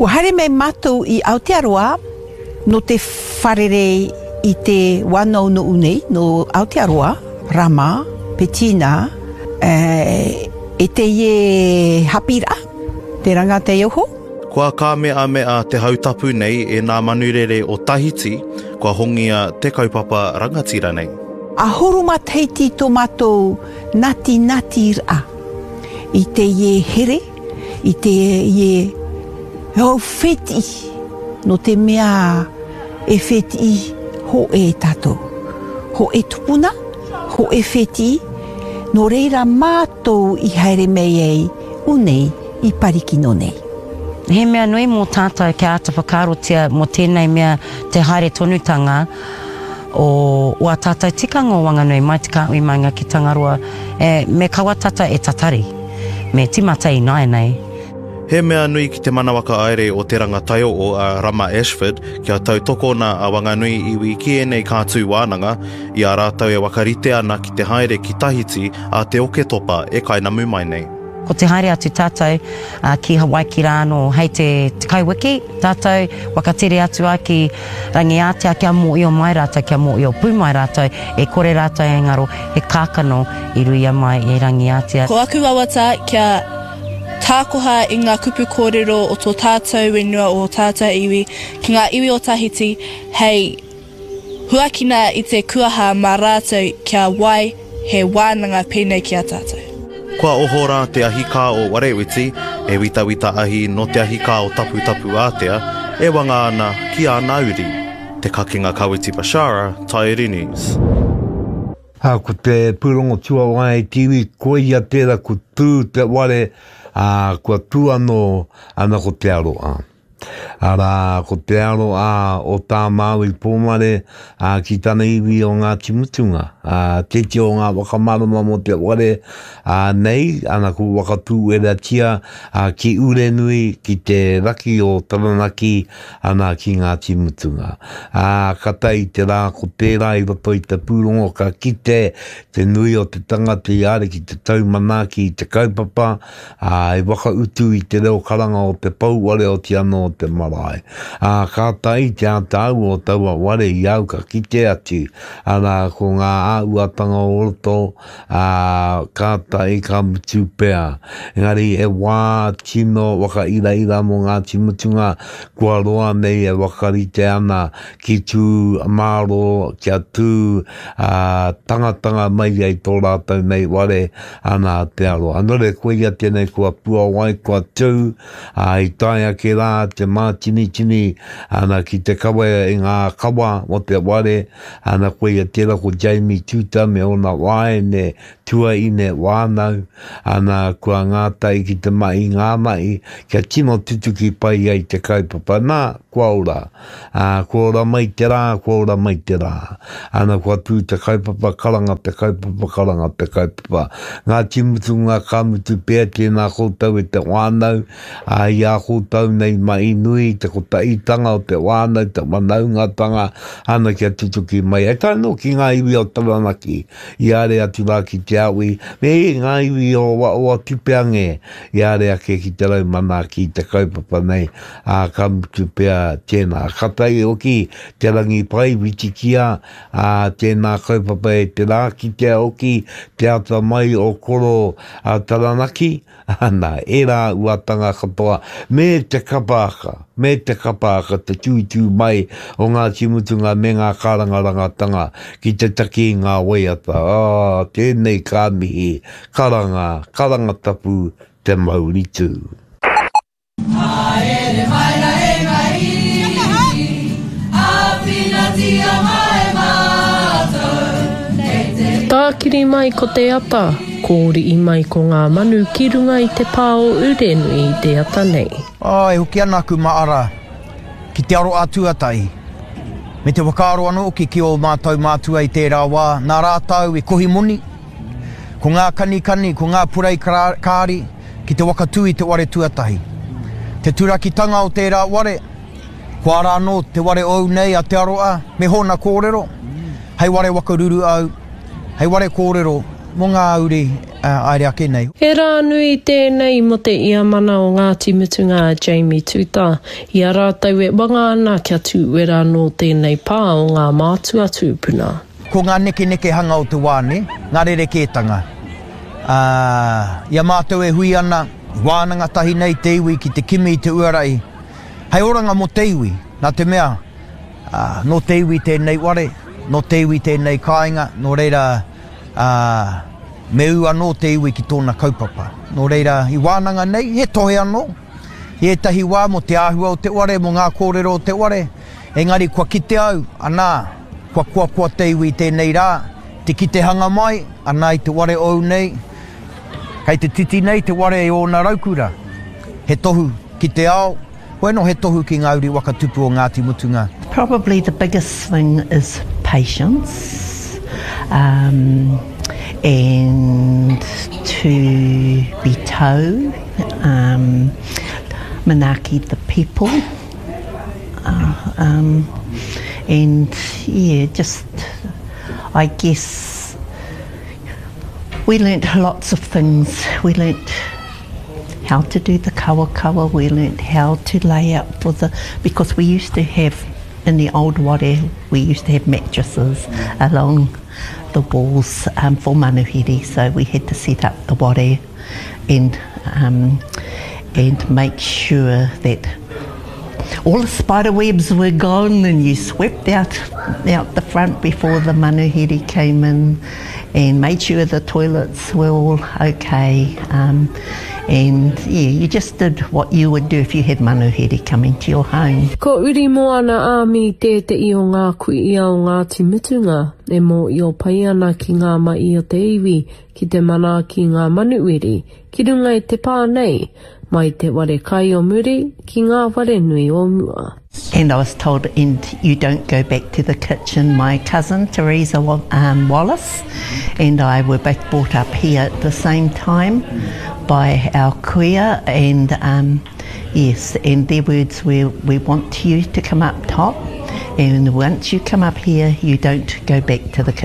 Kua haere mai matou i Aotearoa no te wharerei i te wanounou nei no Aotearoa, Rama, Petina, e te ie Hapira, te ranga te oho. Kua kāmeamea te hautapu nei e nā manurere o Tahiti, kua hongia te kaupapa rangatira nei. Ahuru ma Tahiti to matou natinati ra i te ie here, i te ie hou wheti, no te mea e wheti ho e tatou. Ho e tupuna, ho e wheti, no reira matou i haere mei ei unei i Parikino nei. He mea nui mō tātou kia āta whakaarotia mō tēnei mea te haere tonutanga o o ā tātou tikanga o Wanganui mai te kāhui maunga ki Tangaroa, e, me kaua tata e tatari, me tīmata ināianei. He mea nui ki te mana whakahaere o Te Ranga Taio'o a Rama Ashford kia tautokona a Wanganui iwi ki ēnei kātū wānanga i a rātou e whakarite ana ki te haere ki Tahiti a te Oketopa e kainamu mai nei. Ko te haere atu tātou ki Hawaiki rā anō hei te tekau wiki tātou whakatere atu ai ki Rangiātea kia mōio mai rātou, kia mōio pū mai rātou, e kore rātou e ngaro, he kākano i ruia mai e Rangiātea. Ko aku wawata kia tākoha i ngā kupu kōrero o tō tātou whenua, o ō tātou iwi ki ngā iwi o Tahiti hei Huakina i te kuaha mā rātou kia wai he wānanga pēnei ki a tātou. Kua oho rā te ahikā o Warewiti, e witawita ahi nō te ahikā o Taputapuātea, e wanga ana ki āna uri. Te Kakenga Kawiti Bashara, Taieri News. Ā, ko te pūrongo tuawae i te iwi, koia tērā ko tū te ware, ā, kua tū anō, ana ko te aroā. Arā, ko te aroā o tā Māui Pōmare, ā, ki tana iwi o Ngāti Mutunga, ā, tēti o ngā whakamārama mō te ware, ā, nei, ana ko Wakatūweratia, ā, ki Urenui, ki te raki o Taranaki, ana ki Ngāti Mutunga. Ā, ka tae i te rā ko tērā i roto i te pūrongo ka kite te nui o te tangata i haere ki te tau manaaki i te kaupapa, ā, i whakautu i te reo karanga o te pouware oti anō o te marae. Ā, kātahi te ātaahua o taua ware i au ka kite atu, arā, ko ngā āhuatanga o roto, ā, kātahi ka mutu pea. Engari he wā tino whakairaira mō Ngāti Mutunga kua roa nei e whakarite ana ki tū mārō, kia tū, ā, tangatanga mai ai tō rātou nei ware, Ana te aroha. Nō reira, koia tēnei kua puawai, kua tū, ā, i tae ake rā te mātinitini, ana, ki te kawe i ngā kawa o te ware, ana, koia tērā ko Jamie Tuta me ōna wāene, tuaine wānau, ana, kua ngātahi ki te mahi ngā mahi, kia tino tutuki pai ai te kaupapa. Nā, kua ora. Ā, kua ora mai te rā, kua ora mai te rā. Ana, kua tū te kaupapa, karanga te kaupapa, karanga te kaupapa. Ngāti Mutunga, ka mutu pea tēnā koutou e te whānau, ā, i a koutou nei mahi nui, te kotahitanga o te whānau, te whanaungatanga, ana kia tutuki mai. E tae anō ki ngā iwi o Taranaki, i haere atu rā ki Te Awi, me ngā iwi o Waoatupeange, i haere ake ki te rau manaaki i te kaupapa nei, ā, ka mutu pea tēnā. Ka tae hoki te rangi pai, whitikia, ā, tēnā kaupapa e te rā, kitea hoki te atamai o Koro a Taranaki, ana, ērā uatanga katoa, me te kapa haka, me te kapa haka, te tūtū mai o Ngāti Mutunga me ngā kārangarangatanga ki te taki i ngā waiata, ā, tēnei ka mihi, karanga, karanga tapu, te mauri tū. Haere mai ra e nga iwi, Awhinatia mai matou, kei te. Tākiri mai ko te ata, kōriʻi mai ko ngā manu ki runga i te pā o Urenui i te ata nei. Ā, e hoki ana aku maara ki te aroā tuatahi, me te whakaaro anō hoki ki ō mātou mātua i tērā wā, nā rātou i kohi moni, ko ngā kanikani, ko ngā purei kāri, ki te whakatū i te ware tuatahi. Te turakitanga o tērā ware, kua ara anō te ware ou nei a Te Aroa me hōna kōrero, hei ware waka ruru au, hei ware kōrero mō ngā uri. Haere ake nei. He rā nui tēnei mō te iamana o Ngāti Mutunga a Jamie Tuta, i a rātou e wanga ana kia tūwera anō tēnei pā o ngā mātua tūpuna. Ko ngā nekenekehanga o te wā nē, ngā rerekētanga. Ā, i a mātou e hui ana, i wānanga tahi nei te iwi ki te kimi i te uarahi hei oranga mō te iwi, nā te mea, ā, nō te iwi tēnei ware, nō te iwi tēnei kāinga, nō reira, ā, me ū anō te iwi ki tōna kaupapa. Nō reira, i wānanga nei, he tohe anō, i ētahi wā mō te āhua o te ware, mō ngā kōrero o te ware, engari kua kite au, anā, kua koakoa te iwi i tēnei rā, te kitehanga mai, anā i te ware ou nei, kei te titi nei te ware i ōna raukura, he tohu ki te ao, hoi anō he tohu ki ngā uri waka tupu o Ngāti Mutunga. Probably the biggest thing is patience um, and to be tau, um, manaaki the people uh, um, and yeah, just I guess we learnt lots of things. We learnt how to do the kawakawa, we learnt how to lay out for the, because we used to have, in the old ware, we used to have mattresses along the walls um, for manuhiri, so we had to set up the ware and, um, and make sure that all the spider webs were gone and you swept out out the front before the manuhiri came in and made sure the toilets were all okay. Um, and yeah, you just did what you would do if you had manuhiri coming to your home. Ko Uri Moana Army tētehi o ngā kuia o Ngāti Mutunga e mōio pai ana ki ngā mahi o te iwi ki te manaaki i ngā manuwiri ki runga i te pā nei, mai te ware kai o muri ki ngā whare nui o mua. And I was told, and you don't go back to the kitchen. My cousin, Teresa um, Wallace, and I were both brought up here at the same time by our kuia, and um, yes, and their words were, we want you to come up top, and once you come up here, you don't go back to the kitchen.